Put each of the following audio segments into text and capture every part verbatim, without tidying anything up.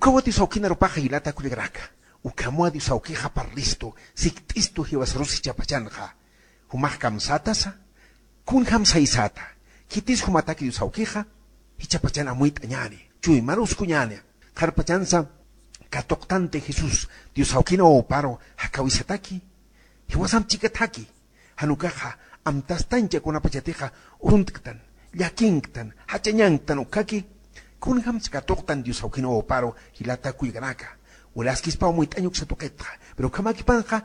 Ukawa Dios awkin arupaxa jilata kullakanaka. Ukhamwa Dios awkixa parlistu, sikt'istu jiwasarus jichhapachanxa. Jumax kamsätasa, kunjam saysata. Khitis jumataki Dios awkixa, jichhapachan amuyt'añäni, chuymarus kuñäni. Qharpachansa katuqtanti Jesús Dios awkin wawaparu jakawisataki, jiwasamp chikataki. Jan ukaxa amtastancha kunapachatixa uruntktan, llakinktan, jachañanktan ukhaki, kunjamsa katuqtan Dios awkin wawaparu jilata kullakanaka. Walaskispa amuyt'añ uksa tuqitxa, pero ukhamakipanxa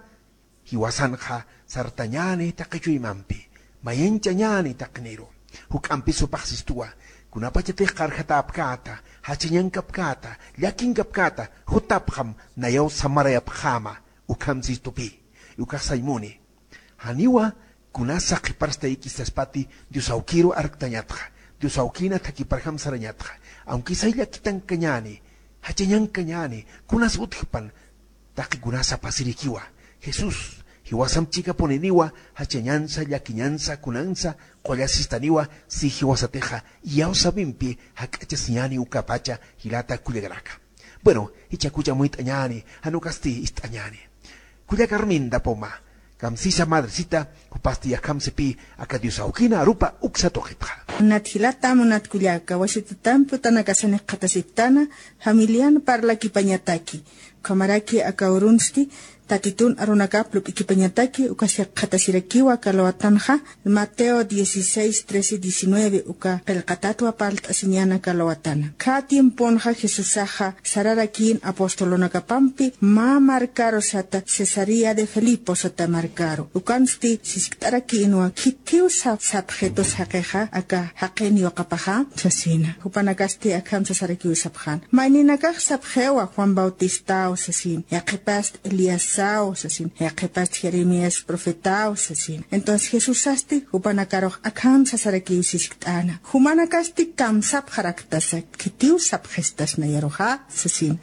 jiwasanxa sartañäni taqi chuymampi, mayanchañäni taqiniru. Juk'ampi supaxsistuwa, kunapachatix qarjatäpkäta, jachañankapkäta, llakinkapkäta, jutapxam nayaw samarayapxäma, ukham sistupi. Ukax sañ muni. Janiwa kunasa qhiparstayki saspati Dios awkiru arktañatxa, Dios awkina thakhiparjam sarañatxa, aunque say llakitankañäni, jachañankañäni, kunas utjpan, taqi kunasa pasirikiwa. Jesús jiwasamp chikapuniniwa, jachañansa, llakiñansa, kunansa qullasistaniwa, si jiwasatixa iyawsapimpi jak'achasiñäni ukapacha jilata kullakanaka. Bueno, jichhakucha amuyt'añäni, jan ukasti ist'añäni. Kullaka Arminda Poma, kamsisa madrecita, jupasti akham sipï aka Dios awkina arupa uksa tuqitxa. Munat jilata, munat kullaka, wasitatanta utanakasani qhatasiptana, familian parlakipañataki. Ukhamaraki aka urunsti Tatitun arunakap lup'ikipañataki, ukasa qhatasirakiwa aka lawatanxa, Mateo dieciséis, trece, diecinueve, uka qillqatatwa parlt'asiñäni aka lawatana. Khä tiemponxa Jesusaxa sararakïn apostolunakapampi mä markaru sata Cesarea de Filipo sata markaru. Ukansti siskt'arakïnwa, khitiw sap-, sapxitus jaqixa aka jaqin yuqapaxa, sasina. Jupanakasti akham sasarakiw sapxän. Mayninakax sapxiwa Juan Bautistaw sasin, yaqhipast Eliasaw sasin, yaqhipast Jeremías profetaw sasin. Entonces Jesusasti jupanakarux akham sasarakiw siskt'äna. Jumanakasti kamsapxaraktasa, khitiw sapxistas nayaruxa sasin.